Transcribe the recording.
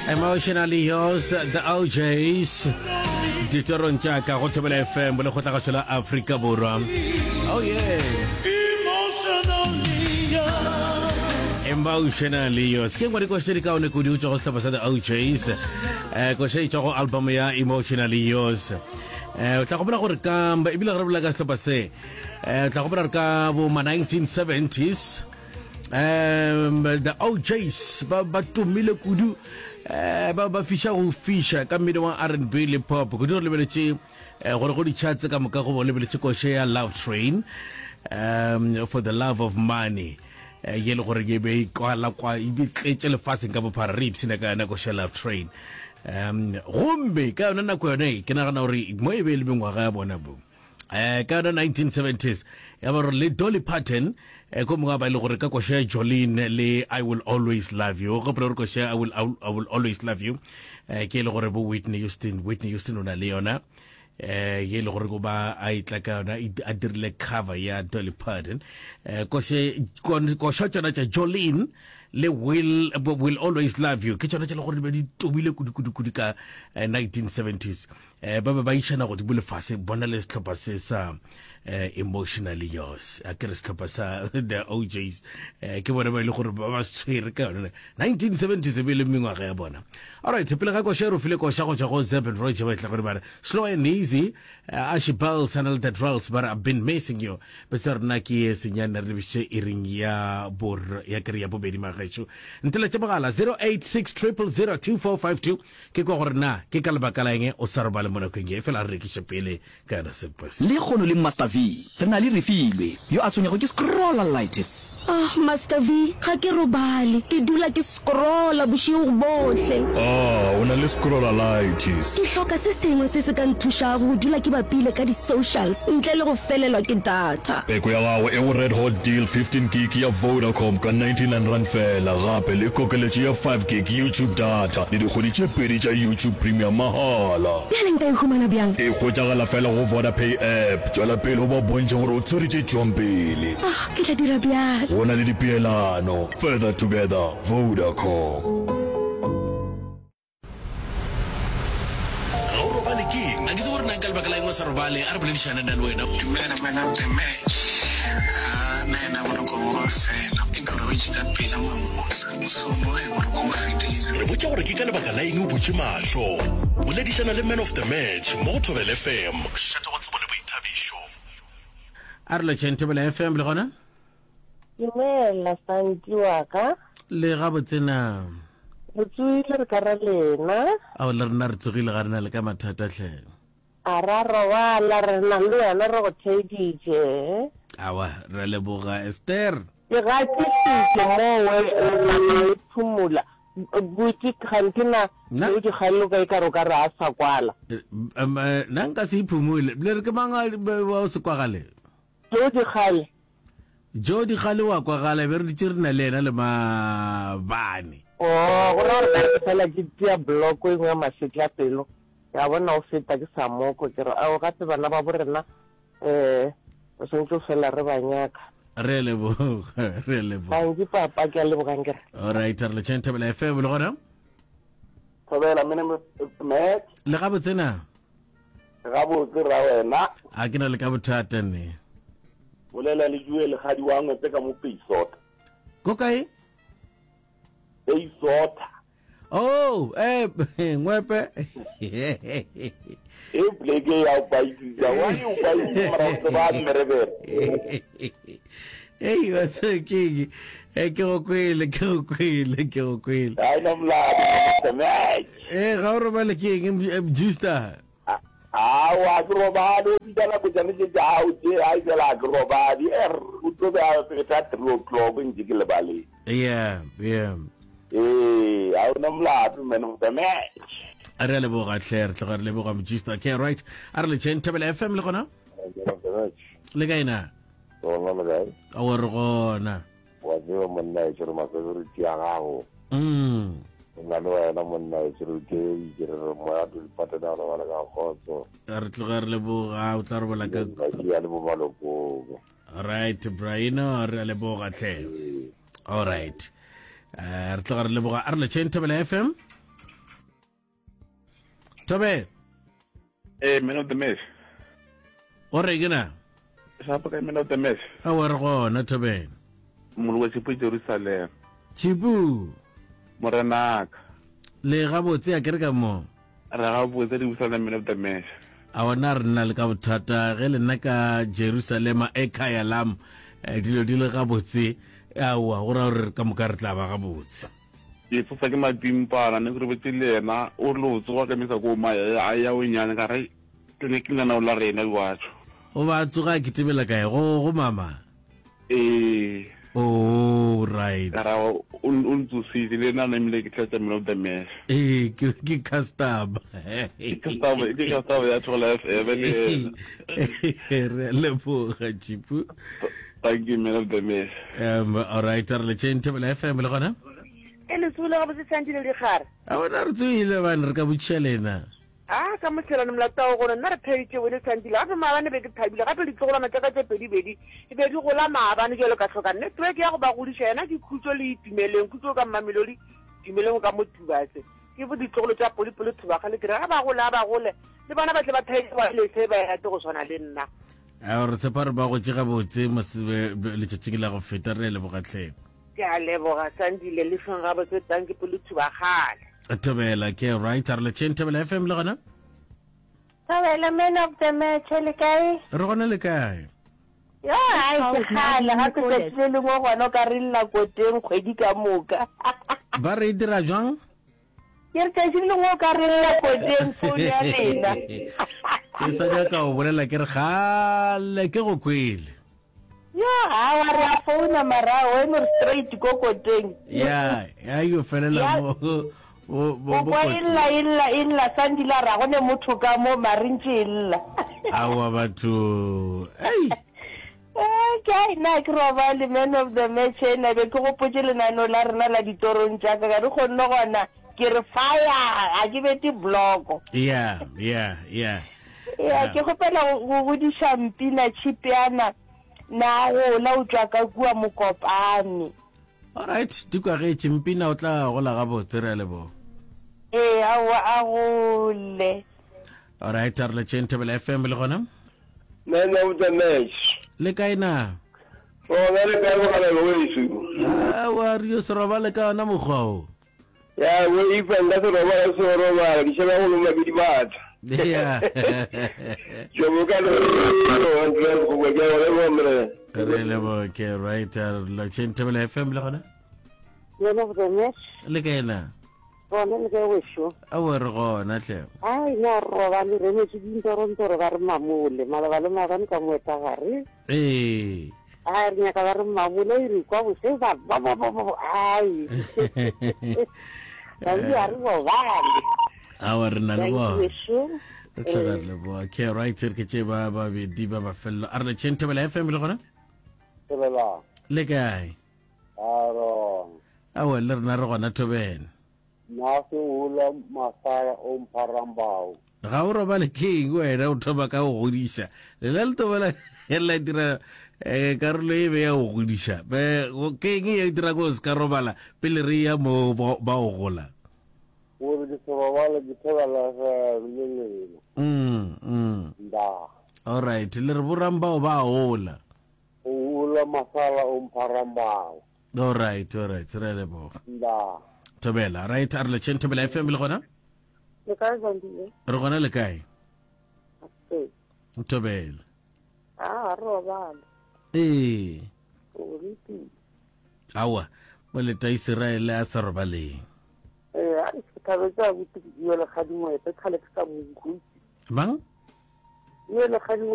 Emotionally yours, the OJs. Ditorong tša ka go Thobela FM bolekgotlagašo la Afrika Borwa. Oh yeah. Emotionally yours. Ke ngwe dikoša tše di kaone kudu tšwa go sehlopha sa the OJs. Eh koša e tšwa go album ya Emotionally Yours. Eh o tla gopola gore ka ebile ge re bolela ka sehlopha se eh o tla gopola gore ka bo ma 1970s um the OJs ba ba tumile kudu eh ba ba fiša go fiša ka mmino wa R&B le pop kudu re lebeletše eh, gore go di-charts ka moka go bo lebeletše koše ya Love Train um for the love of money eh, ye le gore e be e kwala kwa e be tletše lefaseng ka bophara re ipshina ka yona koše ya Love Train um gomme ka yona nako yone ke nagana gore mo e be e le mengwaga ya bona bo eh ka yona 1970s ya ba gore le Dolly Parton eh ko mongwe ba ile gore ka koša ya Jolene le I will always love you o gopola gore koša I will, I will, I will always love you eh ke e le gore bo Whitney Houston Whitney Houston o na le yona eh ye le gore go ba a itla ka yona a dirile cover ya Dolly Parton eh koše koša tšona tša Jolene le will will always love you ke tšona tše le gore di be di tumile kudu kudu kudu ka 1970s eh, ba be ba išana godimo lefase bona le sehlopha se sa eh, emotionally yours a ke re sehlopha sa the OJs eh, ke bona ba ile gore ba ba tshwere ka yone 1970 se be le mengwaga ya bona alright pele ga koša re file koša go tšwa go Zeb and Roger ba tla gore ba re slow and easy uh, Ashy Bells and all the drills but I've been missing you betsa rena ke ye senyane re lebiše iring ya bor ya kere ya bobedi magešo nteletše mogala 086 000 2452 Ke kwa gore na ke ka lebaka la eng o sa robale mo nakong ye, efela a re rekiše pele ka yona sempo se. Lekgono le Master V, re na le Refilwe, yo a tshwenyago ke scrollalitis. Ah, Master V, ga ke robale. Ke dula ke scrolla bošego bohle. Ah, o na le scrollalitis. Ke hloka se sengwe se se ka nthušago go dula ke bapile ka di-socials ntle le go felelwa ke data. Peko ya gago e go Red Hot Deal 15 gig ya Vodacom ka R99 feela, gape le kokeletšo ya 5 gig YouTube data le dikgwedi tše pedi tša YouTube Premium mahala. Bjale nka e humana bjang? E hwetšagala feela go VodaPay app. Tšwela pele o ba bontšhe gore o tshwere tše tšwang pele. Ah, ke tla dira bjalo. Go na le dipeelano. Further together, Vodacom. Ga o robale ke eng? A ke tsebe gore na ka lebaka la eng o sa robale. A re boledišane nna le wena. Dumela man of the match. Ah, nna ena boroko bo ba fela. E ke robetše ka pela mamohla. Mosomo ge boroko bo fedile. Re botša gore ke ka lebaka la eng o butše mahlo. Boledišana le man of the match mo go Thobela FM. Mošate wa tsebo le boithabišo. A re lotšheng Thobela FM le gona? Dumela Santi wa ka. Le gabotse na? Re tsohile re ka ra lena. Ao le rena re tsogile ga re na le ka mathata hle. A ra robala re na le wena re go theeditše. Awa re leboga Esther. Ke gatišitše mowe le phumula buti kganthe na o di kgaloka e ka re o ka re a sa kwala. Nna nka se iphumule le re ke mang wa o se kwagale. Joe Dikgale. Joe Dikgale wa kwagala, e be re dutše re na le yena le maabane. Oh, go ra gore ka re fela ke tia bloko e nngwe ya masetlapelo, ke a bona o feta ke sa moko, ke re ao gape bana ba bo rena um re swanetše go fela re ba nyaka. Re a leboga, re a leboga. Thank you papa, ke a leboga nkere. All right, re lotšheng Thobela FM le gona. Thobela, mene Matt. Le gabotse na? Gabotse ra wena. A ke na le ka bothata ne. Bolela le Joel gadi wa ngwepe ka mo Peisota. Ko kae? Peisota. Oh, eh ngwepe. E pleke ya o paisisa. Wa e o paisisa mara o tseba mmerebere. Ei, wa tseba ke eng? Eh, ke go kwele, ke go kwele, ke go kwele. Ga ena molato, match. Eh, ga o robale ke eng, eh, Justa? Aowa, ke robale, o bitsa nako tšane tše tša gago tše, ai fela ga ke robale. Er, o tlo be a feta 3 o'clock ntše ke lebaleng. Yeah, yeah. Ee, ga ona molato, man of the match. Re a leboga hle, re tloga re leboga Mjusta. Okay, right. A re letšeng Thobela FM le gona? Man of the match. Le kae na? Gona le kae? A re gona. Wa tseba monna e re mafavorite ya gago. Mm. Nna le wena monna e re ke itse re re moya to dipatena go robala ka kgotso. Re tloga re leboga o tla robala ka ya le bo malokong. All right Brian re a leboga tle. All right. Eh re tloga re leboga a re letšeng Thobela FM. Thobela. Ee, man of the match. O re ke na? Shapo kae man of the match? Aowa re gona Thobela. Moloka Tšhipu Jerusalem. Tšhipu. Morenaka. Le gabotse a ke re ka mo. Re gabotse re busa man of the match. A ona re nna le ka bothata ge le nna ka Jerusalema e khaya lam eh, dilo di le gabotse aowa go ra gore ka moka re tla ba gabotse. Ke tsosa ke mapimpana ne ke robetse le yena o rile o tsoga ka misa ko ma a ya o nyane ka re ke ne ke lenaneo la rena batho. O ba tsoga a kitimela kae go go mama? Ee. Oh right. Ka ra o o ntsositse le nna namile ke tlatsa man of the match. Ee ke ke customer. Ke customer ke customer ya Thola FM le yena. Re a leboga Chipu. Thank you man of the match. Um all right re le tšeng Thobela FM le gona. E le tsogile gabotse Sandile Dikgare. A bona re tsogile bane re ka botšiša lena. A ka mohlelane molato wa gore nna re pheditše wene Sandile gape maabane be ke thabile gape ditlogolwana tša ka tše pedibedi e be di gola maabane jalo ka hloka network ya go ba godiša yena ke khutšo le itumeleng khutšo ka Mmamelodi Tumeleng ka mo Tubatse ke bo ditlogolo tša Polipoli Thubagale ke re ga ba gole a ba gole le bona ba tle ba thaile ba lese ba rate go swana le nna. A re tshepa re ba gotše gabotse letšatšing la go feta re leboga tlhe. Ke a leboga Sandile le feng gabotse tanki pelo thubagale. Thobela ke right a re letšeng Thobela FM le gona. Thobela man of the match le kae? Re gona le kae? Yo ai ke kgale gape tsatsi le lengwe gona o ka re lla koteng kgwedi ka moka. Ba re e dira jwang? Ke re tsatsi le lengwe o ka re lla koteng phone ya lena. Ke sa nyaka go bolela ke re kgale ke go kwele. Yo awa re a founa mara wena re straight ko koteng. Ya, ya yo felela mo o kwa e lla e lla e lla Sandile a ra go ne motho ka mo mare ntše e lla. Awa batho. Ei. Eh, ke ai na ke robale man of the match ena be ke gopotše lenaneo la rena la ditorong tša ka ka re kgonne gona ke re fire ga ke bete bloko. Yeah, yeah, yeah. Ya, ke kgopela go godiša Mpina Tšhipeana na gola o tšwa ka kua Mokopane. Alright, di kwagetše Mpina o tla gola gabotse re a leboga. Ee, aowa a gole. Alright, a re letšeng Thobela FM le gona. Man of the match. Le kae na? Rona le kae mogalabe weso? Aowa re yo se robale ka ona mokgwa o. Ya bo ifa nka se robala se robala ke sheba go loma ke dibata. Yeah. Jo bo ka lo go go ke go le mre. Re le bo ke right la Thobela FM le gona. Man of the match. Le kae na? Gona le kae wešo? Aowa re gona hle. Ai na re robale re emetse dintorontoro ba re mamole maloba le maabane ka moetagare. Ee. Ai re nyaka ba re mamole e re kwa bose ba ba ba ba ba ai. Ba re a re robale. Aowa re na le bona. Re tla re leboga. Ke right re ke tše ba babedi ba mafelelo. A re letšeng Thobela FM le gona? Thobela. Le kae? Aaron. Aowa, le rena re gona Thobela. Na se ula masaya o mpharambao. Ga o robale ke eng wena o thoma ka go godiša lela le tobela la dira eh, karolo e be ya go godiša ke eng e dira go se ka robala pele re ya mo ba o gola gore ke se robale ke thobela le lena mm, mm. nda all right le re borambao ba gola O ula masala o mpharambao. All right, all right, re a leboga. Nda. Thobela, right, a re letšheng Thobela FM le gona? Le kae Zandile? Re gona le kae? Ee. Thobela. Ah, re robale. Ee. O ritile. Awa, mo leta Israele a sa robaleng. Ee, a ke thabetse a botse ke bua le Kgadimoepe, kgale ke sa mo utlwe. Mang? Bua le Kgadimoepe.